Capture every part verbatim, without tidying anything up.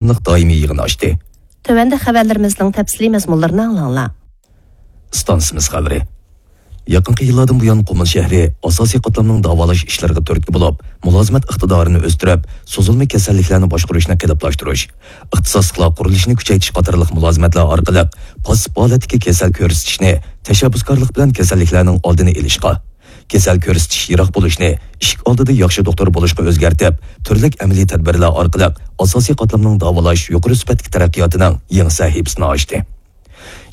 دائىمىي يىغىنى ئاچتى. تۆۋەندە خەۋەرلىرىمىزنىڭ تەپسىلىي مەزمۇنلىرىنى ئاڭلاڭلار. ئىستانسىمىز خەۋىرى. يېقىنقى يىللاردىن بۇيان، قۇمۇل شەھىرى ئاساسىي قاتلامنىڭ داۋالاش ئىشلىرىغا تۈرتكە بولۇپ، مۇلازىمەت ئىقتىدارىنى ئۆستۈرۈپ، سوزۇلما كېسەللىكلەرنى باشقۇرۇشنى قېلىپلاشتۇرۇش، ئىختىساسلىقلار قۇرۇلۇشىنى كۈچەيتىش قاتارلىق مۇلازىمەتلەر ئارقىلىق پاسسىپ ھالەتتىكى كېسەل كۆرسىتىشنى تەشەببۇسكارلىق بىلەن كېسەللىكلەرنىڭ ئالدىنى ئېلىشقا، كېسەل كۆرسىتىش يىراق بولۇشنى ئىشىك ئالدىدا ياخشى دوختۇر بولۇشقا ئۆزگەرتىپ، تۈرلۈك ئەمەلىي تەدبىرلەر ئارقىلىق ئاساسىي قاتلامنىڭ داۋالاش يۇقىرى سۈپەتلىك تەرەققىياتىنىڭ يېڭى سەھىپىسىنى ئاچتى.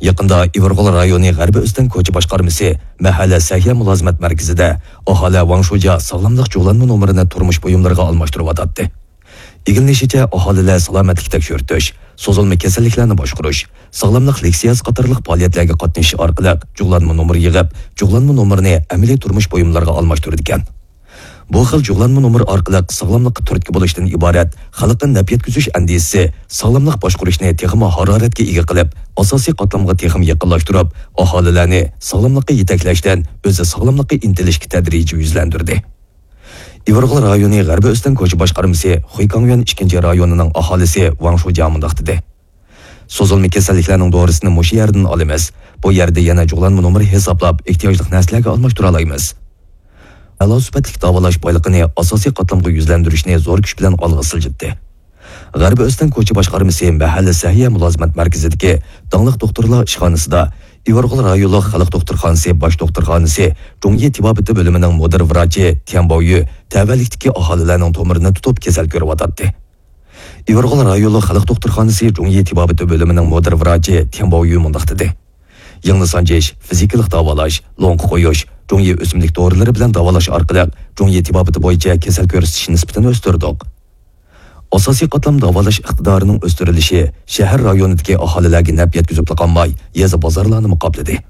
يېقىندا ئىۋىرغول رايونى غەربىي ئۆستەڭ كوچا باشقارمىسى مەھەللە سەھىيە مۇلازىمەت مەركىزىدە ئاھالە ۋاڭ شۇجيا ساغلاملىق جۇغلانما نومۇرىنى تۇرمۇش بۇيۇملىرىغا ئالماشتۇرۇۋاتاتتى. ئىگىلىنىشىچە، ئاھالىلەر سالامەتلىك تەكشۈرتۈش، سوزۇلما كېسەللىكلەرنى باشقۇرۇش، ساغلاملىق لېكسىيەسى قاتارلىق پائالىيەتلەرگە قاتنىشىش ئارقىلىق جۇغلانما نومۇر يىغىپ، جۇغلانما نومۇرىنى ئەمەلىي تۇرمۇش بۇيۇملىرىغا ئالماشتۇرىدىكەن. بۇ خىل جۇغلانما نومۇر ئارقىلىق ساغلاملىققا تۈرتكە بولۇشتىن ئىبارەت خەلققە نەپ يەتكۈزۈش ئەندىزىسى ساغلاملىق باشقۇرۇشنى تېخىمۇ ھارارەتكە ئىگە قىلىپ، ئاساسىي قاتلامغا تېخىمۇ يېقىنلاشتۇرۇپ، ئاھالىلەرنى ساغلاملىققا يېتەكلەشتىن ئۆزى ساغلاملىققا ئىنتىلىشكە تەدرىجىي يۈزلەندۈردى. ئىۋىرغول رايونى غەربىي ئۆستەڭ كوچا باشقارمىسى خۇيكاڭيۈەن ئىككىنچى رايونىنىڭ ئاھالىسى ۋاڭ شۇجيا مۇنداق دېدى. سوزۇلما كېسەللىكلەرنىڭ دورىسىنى مۇشۇ يەردىن ئالىمىز. بۇ يەردە يەنە جۇغلانما نومۇرى ھېسابلاپ، ئېھتىياجلىق نەرسىلەرگە ئالماشتۇرالايمىز. ئەلا سۈپەتلىك داۋالاش بايلىقىنى ئاساسىي قاتلامغا يۈزلەندۈرۈشنى زور كۈچ بىلەن ئالغا سىلجىتتى. غەربىي ئۆستەڭ كوچا باشقارمىسى مەھەللە سەھىيە مۇلازىمەت مەركىزىدىكى داڭلىق دوختۇرلار ئىشخانىسىدا ئىۋىرغول رايونلۇق خەلق دوختۇرخانىسى باش دوختۇرخانىسى جۇڭيى تېبابىتى بۆلۈمىنىڭ مۇدىر ۋراچى تيەن باۋيۈ تەۋەلىكتىكى ئاھالىلەرنىڭ تومۇرىنى تۇتۇپ كېسەل كۆرۈۋاتاتتى. ئىۋىرغول رايونلۇق خەلق دوختۇرخانىسى جۇڭيى تېبابىتى بۆلۈمىنىڭ مۇدىر ۋراچى تيەن باۋيۈ مۇنداق دېدى. يىڭنە سانجىش، فىزىكىلىق داۋالاش، لوڭقا قويۇش، جۇڭيى ئۆسۈملۈك دورىلىرى بىلەن داۋالاش ئارقىلىق جۇڭيى تېبابىتى بويىچە كېسەل كۆرسىتىش نىسبىتىنى ئۆستۈردۇق. ئاساسىي قاتلام داۋالاش ئىقتىدارىنىڭ ئۆستۈرۈلۈشى شەھەر رايونىدىكى ئاھالىلەرگە نەپ يەتكۈزۈپلا قالماي، يېزا بازارلارنىمۇ قاپلىدى.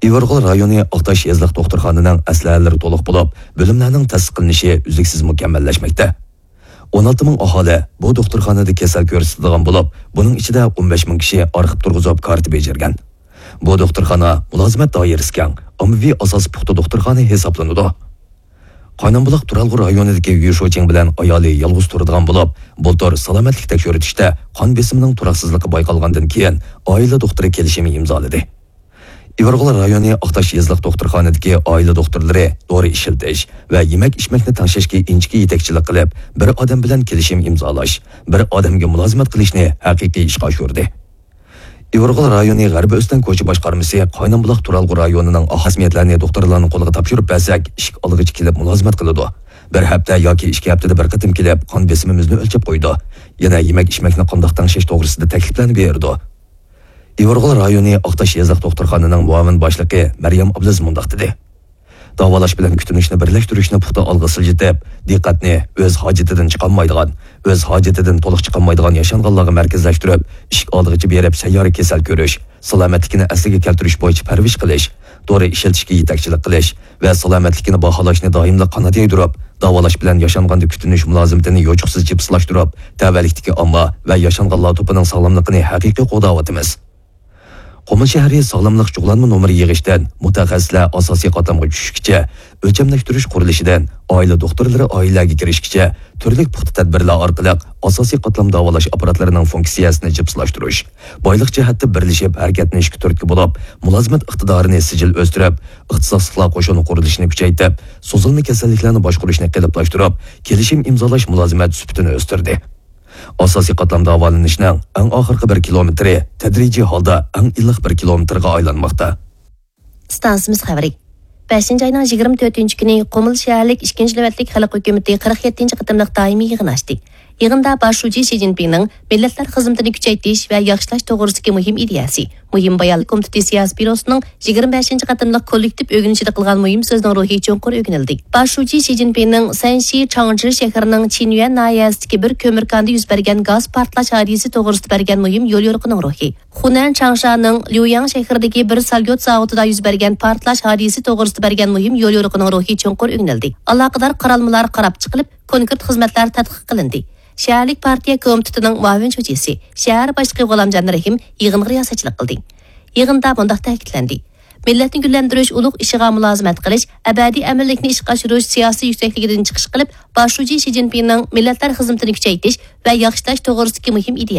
ئىۋىرغول رايونى ئاقتاش يېزىلىق دوختۇرخانىنىڭ ئەسلىھەلىرى تولۇق بولۇپ، بۆلۈملەرنىڭ تەسىس قىلىنىشى ئۈزلۈكسىز مۇكەممەللەشمەكتە. ئون ئالتە مىڭ ئاھالى بۇ دوختۇرخانىدا كېسەل كۆرسىتىدىغان بولۇپ، بۇنىڭ ئىچىدە ئون بەش مىڭ كىشى ئارخىپ تۇرغۇزۇپ كارتا بېجىرگەن. بۇ دوختۇرخانا مۇلازىمەت دائىرىسى كەڭ، ئاممىۋى ئاساسى پۇختا دوختۇرخانا ھېسابلىنىدۇ. قاينامبۇلاق تۇرالغۇ رايونىدىكى يۈ شۇچىڭ بىلەن ئايالى يالغۇز تۇرىدىغان بولۇپ، بۇلتۇر سالامەتلىك تەكشۈرتۈشتە قان بېسىمىنىڭ تۇراقسىزلىقى بايقالغاندىن كېيىن، ئائىلە دوختۇرى كېلىشىمى ئىمزالىدى. ئىۋىرغول رايونى ئاقتاش يېزىلىق دوختۇرخانىدىكى ئائىلە دوختۇرلىرى دورا ئىشلىتىش ۋە يېمەك-ئىچمەكنى تەڭشەشكە ئىنچىكە يېتەكچىلىك قىلىپ، بىر ئادەم بىلەن كېلىشىم ئىمزالاش، بىر ئادەمگە مۇلازىمەت قىلىشنى ھەقىقىي ئىشقا ئاشۇردى. ئىۋىرغول رايونى غەربىي ئۆستەڭ كوچا باشقارمىسى قاينامبۇلاق تۇرالغۇ رايونىنىڭ ئاھاسمىيەتلەرنى دوختۇرلارنىڭ قولىغا تاپشۇرۇپ بەرسەك، ئىشىك ئالدىغىچە كېلىپ مۇلازىمەت قىلىدۇ. بىر ھەپتە ياكى ئىككى ھەپتىدە بىر قېتىم كېلىپ، قان بېسىمىمىزنى ئۆلچەپ قويىدۇ. يەنە يېمەك-ئىچمەكنى قانداق تەڭشەش توغرىسىدا تەكلىپلەرنى بېرىدۇ. ئىۋىرغول رايونى ئاقتاش يېزىلىق دوختۇرخانىنىڭ مۇئاۋىن باشلىقى مەريەم ئابلىز مۇنداق دېدى: داۋالاش بىلەن كۈتۈنۈشنى بىرلەشتۈرۈشنى پۇختا ئالغا سىلجىتىپ، دىققەتنى ئۆز ھاجىتىدىن چىقالمايدىغان، ئۆز ھاجىتىدىن تولۇق چىقالمايدىغان ياشانغانلارغا مەركەزلەشتۈرۈپ، ئىشىك ئالدىغىچە بېرىپ سەييارە كېسەل كۆرۈش، سالامەتلىكىنى ئەسلىگە كەلتۈرۈش بويىچە پەرۋىش قىلىش، دورا ئىشلىتىشكە يېتەكچىلىك قىلىش ۋە سالامەتلىكىنى باھالاشنى دائىملىق قانات يايدۇرۇپ، داۋالاش بىلەن ياشانغاندا كۈتۈنۈش مۇلازىمىتىنى يوچۇقسىز جىپسلاشتۇرۇپ، تەۋەلىكتىكى ئامما ۋە ياشانغانلار توپىنىڭ ساغلاملىقىنى ھەقىقىي قوغداۋاتىمىز. قۇمۇل شەھىرى ساغلاملىق جۇغلانما نومۇرى يىغىشتىن، مۇتەخەسسىسلەر ئاساسىي قاتلامغا چۈشۈشكىچە، ئۆلچەملەشتۈرۈش قۇرۇلۇشىدىن، ئائىلە دوختۇرلىرى ئائىلىلەرگە كىرىشكىچە، تۈرلۈك پۇختا تەدبىرلەر ئارقىلىق ئاساسىي قاتلام داۋالاش ئاپپاراتلىرىنىڭ فۇنكسىيەسىنى جىپسلاشتۇرۇش، بايلىق جەھەتتە بىرلىشىپ ھەرىكەتلىنىشكە تۈرتكە بولۇپ، مۇلازىمەت ئىقتىدارىنى سىجىل ئۆستۈرۈپ، ئىختىساسلىقلار قوشۇنى قۇرۇلۇشىنى كۈچەيتىپ، سوزۇلما كېسەللىكلەرنى باشقۇرۇشنى قېلىپلاشتۇرۇپ، كېلىشىم ئىمزالاش مۇلازىمەت سۈپىتىنى ئۆستۈردى. ئاساسىي قاتلام داۋالىنىشنىڭ ئەڭ ئاخىرقى بىر كىلومېتىرى تەدرىجىي ھالدا ئەڭ ئىللىق بىر كىلومېتىرغا ئايلانماقتا. ئىستانسىمىز خەۋىرى. بەشىنچى ئاينىڭ يىگىرمە تۆتىنچى كۈنى قۇمۇل شەھەرلىك ئىككىنچى نۆۋەتلىك خەلق ھۆكۈمىتى قىرىق يەتتىنچى قېتىملىق دائىمىي يىغىنى ئاچتى. يىغىندا باش شۇجى شى جىنپىڭنىڭ مىللەتلەر خىزمىتىنى كۈچەيتىش ۋە ياخشىلاش توغرىسىدىكى مۇھىم ئىدىيەسى، مۇھىم بايانلىق كومىتېتى سىياسىي بيۇروسىنىڭ يىگىرمە بەشىنچى قېتىملىق كوللېكتىپ ئۆگىنىشىدە قىلغان مۇھىم سۆزىنىڭ روھى چوڭقۇر ئۆگىنىلدى. باش شۇجى شى جىنپىڭنىڭ سەنشى چاڭجى شەھىرىنىڭ چىنيۈەن ناھىيەسىدىكى بىر كۆمۈركاندا يۈز بەرگەن گاز پارتلاش ھادىسىسى توغرىسىدا بەرگەن مۇھىم يوليورۇقىنىڭ روھى، خۇنەن چاڭشانىڭ ليۇياڭ شەھىرىدىكى بىر ساليۇت زاۋۇتىدا يۈز بەرگەن پارتلاش ھادىسىسى توغرىسىدا بەرگەن مۇھىم يوليورۇقىنىڭ روھى چوڭقۇر ئۆگىنىلدى. ئالاقىدار قارالمىلار قاراپ چىقىلىپ، كونكرېت خىزمەتلەر تەتقىق قىلىندى. شەھەرلىك پارتىيە كومىتېتىنىڭ مۇئاۋىن شۇجىسى، شەھەر باشلىقى غۇلامجان رەھىم يىغىنغا رىياسەتچىلىك قىلدى. يىغىندا مۇنداق تەكىتلەندى: مىللەتنى گۈللەندۈرۈش ئۇلۇغ ئىشىغا مۇلازىمەت قىلىش، ئەبەدىي ئەمىنلىكنى ئىشقا ئاشۇرۇش سىياسىي يۈكسەكلىكىدىن چىقىش قىلىپ، باش شۇجى شى جىنپىڭنىڭ مىللەتلەر خىزمىتىنى كۈچەيتىش ۋە ياخشىلاش توغرىسىدىكى مۇھىم ئىدىيە.